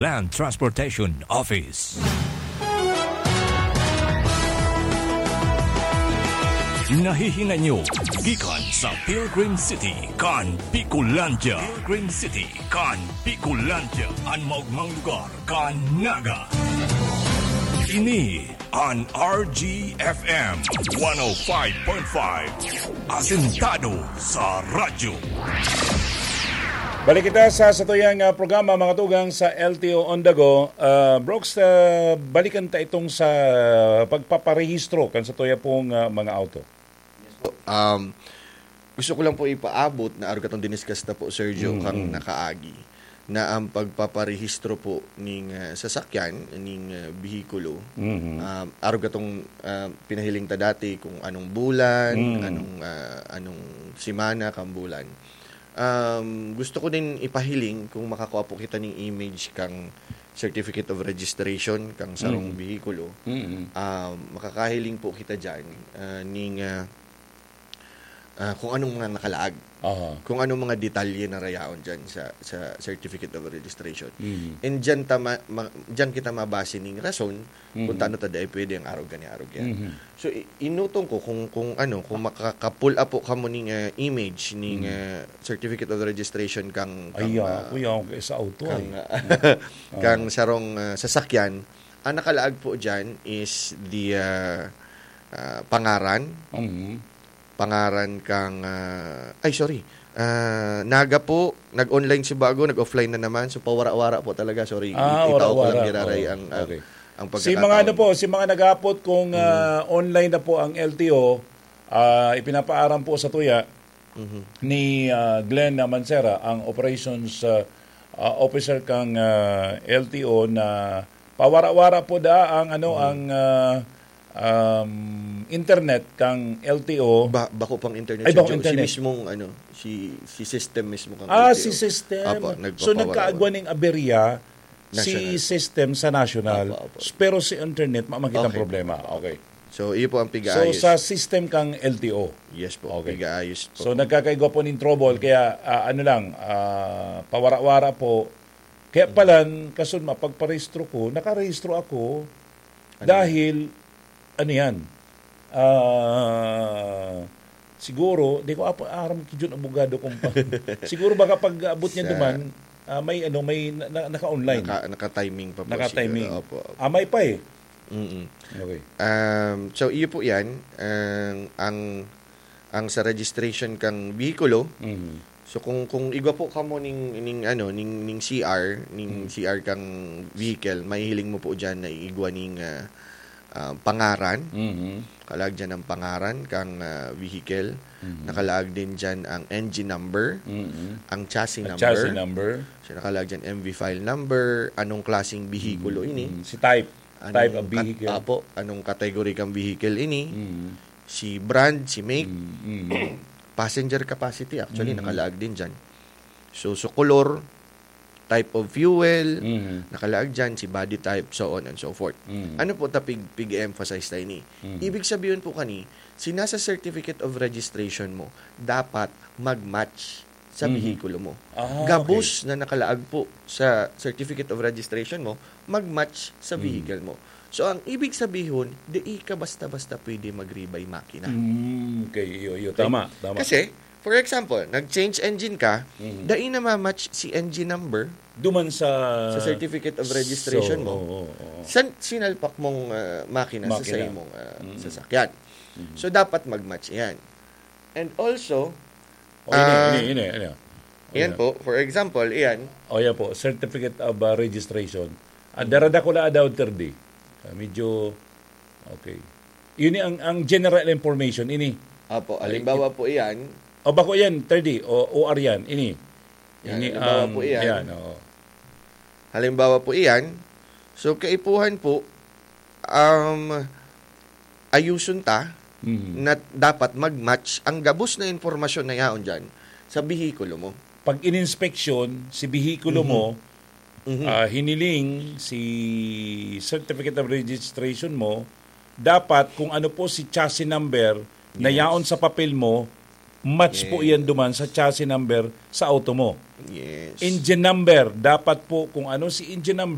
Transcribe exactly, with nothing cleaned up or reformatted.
Land Transportation Office. Nahihingan nyo gikan sa Pilgrim City kan Bicolandia. Pilgrim City kan Bicolandia, an maogmang lugar kan Naga. Ini an R G F M one oh five point five, asentado sa radyo. Balik kita sa satuyang, ah, programa, mga tugang, sa L T O on the go. Ah, Brooks, ah, balikan ta itong sa pagpaparehistro kan satuya pong, ah, mga auto. Yes po. Um, gusto ko lang po ipaabot na arog katong diniscuss na po, Sergio, Mm, kang mm. nakaagi, na ang pagpaparehistro po ning, ah, sasakyan, ning, ah, bihikulo, Mhm. um, arog katong, ah, pinahiling ta dati kung anong bulan, Mm. anong, ah, anong semana kang bulan. Um, gusto ko din ipahiling kung makakua po kita ning image kang certificate of registration kang sarong Mm. bihikulo. Mm. Um, makakahiling po kita dyan, ah, ning, ah, ah, kung anong mga nakalaag. Aha. Kung anong mga detalye na rayaon dyan sa, sa certificate of registration. Mm. And dyan ta ma-, ma-, dyan kita mabase ning rason kung Mhm. tano ta dai pwede ang arog gani, arog yan. Mhm. So, i-, inutong ko kung, kung ano, kung makaka-pull up po kamo ning, ah, image ning, Mhm. ah, certificate of registration kang, kang, Ay, ah, ah, kuya, okay, sa auto, kang, eh. ah, Oh. kang sarong, ah, sasakyan. Ang nakalaag po dyan is the, ah, ah, pangaran. Mhm. Pangaran kang, ah, ay, sorry. Ah, Naga po, nag-online si bago, nag-offline na naman. So, pawara-wara po talaga. Sorry, Ah, i-, itao ko lang wara-wara. giraray Oo. ang, ang, Okay. ang Si mga ano pagkakataon. po, si mga nag-aapot kung, Mm. ah, online na po ang L T O, ah, ipinapaaram po sa tuya Mhm. ni, ah, Glenn Mancera, ang operations, ah, ah, officer kang, ah, L T O na pawara-wara po da ang ano, Mhm. ang, ah, um, internet kang L T O. Ba-, bako pang internet, Ay, Sir bako Joe. Si internet. mismong, ano, si, si system mismo kang Ah, L T O. si system. Apo, So, nagpapawara-wara. nagkaagwa ning aberya si National. system sa national. Apo, apo. Pero si internet, ma-, makita ang Okay. problema. Okay. So, iyo po ang So, pigaayos. sa system kang L T O. Yes po, Okay. pigaayos po. So, nagkakaigwa po ning trouble. Kaya, ah, ano lang, ah, pawara-wara po. Kaya Mm. palan, kasun mapagparehistro ko, nakarehistro ako Ano? dahil, ano yan, ah, siguro, di ko apa-, aram ki Jun abogado kung pa-, siguro baka pag abot niya Sa duman, ah, may ano, may na-, na-, naka-online. Naka-, naka-timing pa po Naka-timing. siguro. Opo, opo. Ah, may pa eh. Mm-mm. Okay. Um, so, iyo po yan. Ang, ang, ang sa registration kang bihikulo, Mhm. so, kung, kung igwa po kamo ning, ning, ano, ning, ning C R, ning Mhm. C R kang vehicle, mahihiling mo po dyan na igwa ning, ah, ah, pangaran. Mhm. Kalaag dyan ang pangaran kang, ah, vehicle. Mhm. Nakalaag din dyan ang engine number, Mhm. ang chassis Ang number. chassis number. So, nakalaag dyan M V file number, anong klaseng bihikulo Mhm. ini. Mhm. Si type. Anong Type of kat-, vehicle. apo, anong category kang vehicle ini. Mhm. Si brand, si make. Mhm. Mhm. Passenger capacity, actually, Mhm. nakalaag din dyan. So, so color, type of fuel, Mhm. nakalaag dyan, si body type, so on and so forth. Mhm. Ano po ta pig-, pig-emphasize ta ini? Mhm. Ibig sabihin po kani, si nasa certificate of registration mo, dapat mag-match sa Mhm. bihikulo mo. Ah, Gabos okay. na nakalaag po sa certificate of registration mo, mag-match sa Mhm. vehicle mo. So, ang ibig sabihin, di ka basta-basta pwede mag-rebay makina. Mm, okay, iyo, iyo. Okay? Tama, tama. Kasi, for example, nag-change engine ka, Mhm. dai na ma-match si engine number Duman sa sa certificate of registration So, mo. oo, oo. Sa sinalpak mong, ah, makina sa Makina. sa imong, ah, Mhm. sasakyan. Mhm. So, dapat mag-match yan. And also, Oh, ini, ah, ini, ini, ini. Oh, yan yan. po, for example, iyan. Oh, yan po, certificate of, ah, registration. Ah, Hmm. darada ko na daw, thirty. Ah, medyo, okay. Yun ang, ang general information, ini. Apo, Ay, halimbawa i- po iyan. O, bako yan, thirty, o O R yan, ini. Yan, Ini halimbawa ang, po iyan. yan, oo. Halimbawa po iyan. So, kaipuhan po, um, ayuson ta Mhm. na dapat mag-match ang gabos na impormasyon na yaon dyan sa bihikulo mo. Pag ininspeksyon, si bihikulo Mhm. mo, Mhm. ah, hiniling si certificate of registration mo, dapat kung ano po si chassis number na Yes. yaon sa papel mo, match po Yes. iyan duman sa chassis number sa auto mo. Yes. Engine number, dapat po kung ano si engine number,